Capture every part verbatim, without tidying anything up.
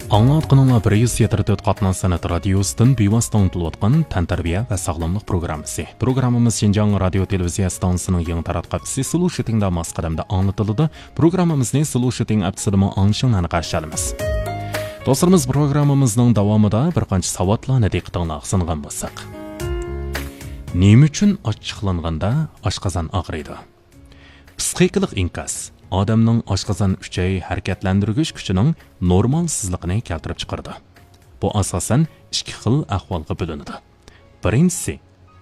ئاڭلاۋاتقىنىڭلار بىر يۈز يەتتە تۆت قاتناش سەنئەت رادىيوسىدىن بىۋاسىتە ئاڭلىتىلىۋاتقان تەنتەربىيە ۋە ساغلاملىق پروگراممىسى. پروگراممىمىز شىنجاڭ رادىيو تېلېۋىزىيە ئىستانسىسىنىڭ يېڭى تاراتقۇ ئەپسى سلو شىتىڭدا ماس قەدەمدە ئاڭلىتىلىدۇ. پروگراممىمىزنى سلو شىتىڭ ئەپسىدىمۇ ئاڭلىشىڭلارنى قارشى ئالىمىز. دوستلىرىمىز، پروگراممىمىزنىڭ داۋامىدا بىر قانچە ساۋاتلارنى دىققىتىڭلارغا سۇنغان بولساق. نېمە ئۈچۈن ئاچچىقلانغاندا ئاشقازان ئاغرىيدۇ؟ پسىخىكىلىق ئىنكاس ئادەمنىڭ ئاشقازان ئۈچەي ھەرىكەتلەندۈرگۈچ كۈچىنىڭ نورمالسىزلىقىنى كەلتۈرۈپ چىقىرىدۇ. بۇ ئاساسەن ئىككى خىل ئەھۋالغا بۆلۈنىدۇ. بىرىنچىسى،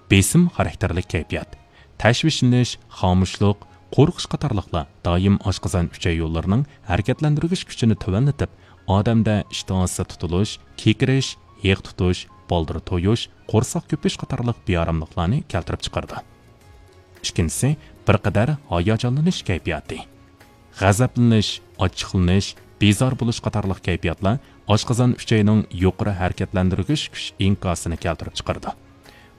بېسىم خاراكتېرلىك كەيپىيات. تەشۋىشلىنىش، خامۇشلۇق، قورقۇش قاتارلىقلار دائىم ئاشقازان ئۈچەي يوللىرىنىڭ ھەرىكەتلەندۈرگۈچ كۈچىنى تۆۋەنلىتىپ، ئادەمدە ئىشتىھاسى تۇتۇلۇش، كېكىرىش، ھېق تۇتۇش، بالدۇر تويۇش، قورساق كۆپۈش قاتارلىق بىئاراملىقلارنى كەلتۈرۈپ چىقىرىدۇ. ئىككىنچىسى، بىر قەدەر ھاياجانلىنىش كەيپىياتى. غەزەپلىنىش، ئاچچىقلىنىش، بىزار بولۇش قاتارلىق كەيپىياتلار ئاشقازان ئۈچەينىڭ يۇقىرى ھەرىكەتلەندۈرگۈچ كۈچ ئىنكاسىنى كەلتۈرۈپ چىقىرىدۇ.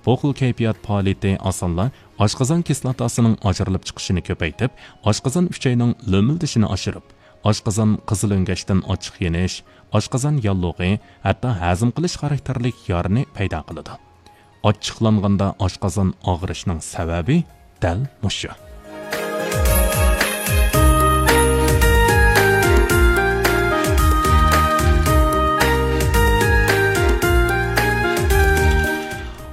بۇ خىل كەيپىيات پائالىيىتى ئاسانلا ئاشقازان كىسلاتاسىنىڭ ئاجرىلىپ چىقىشىنى كۆپەيتىپ، ئاشقازان ئۈچەينىڭ لۆمۈلدىشىنى ئاشۇرۇپ، ئاشقازان قىزىل ئۆڭگەچتىن ئاچچىق يېنىش، ئاشقازان ياللۇغى، ھەتتا ھەزىم قىلىش خاراكتېرلىك يارىنى پەيدا قىلىدۇ. ئاچچىقلانغاندا ئاشقازان ئاغرىشنىڭ سەۋەبى دەل مۇشۇ.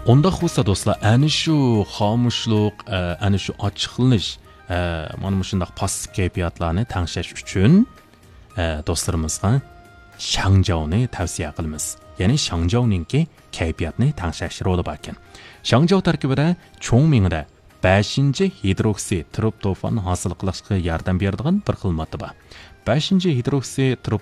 ئۇنداق بولسا دوستلار، ئەنە شۇ خامۇشلۇق، ئە، ئەنە شۇ ئاچچىقلىنىش، ئە، مانا مۇشۇنداق پاسسىپ كەيپىياتلارنى تەڭشەش ئۈچۈن، ئە، دوستلىرىمىزغا شاڭجاۋنى تەۋسىيە قىلىمىز. يەنى شاڭجاۋنىڭكى كەيپىياتنى تەڭشەش رولى باركەن. شاڭجاۋ تەركىبىدە چوڭ مېڭىدە بەشىنچى ھىدروكسى ترىپتوفان ھاسىل قىلىشقا ياردەم بېرىدىغان بىر خىل ماددا بار. بەشىنچى ھىدروكسى ترىپ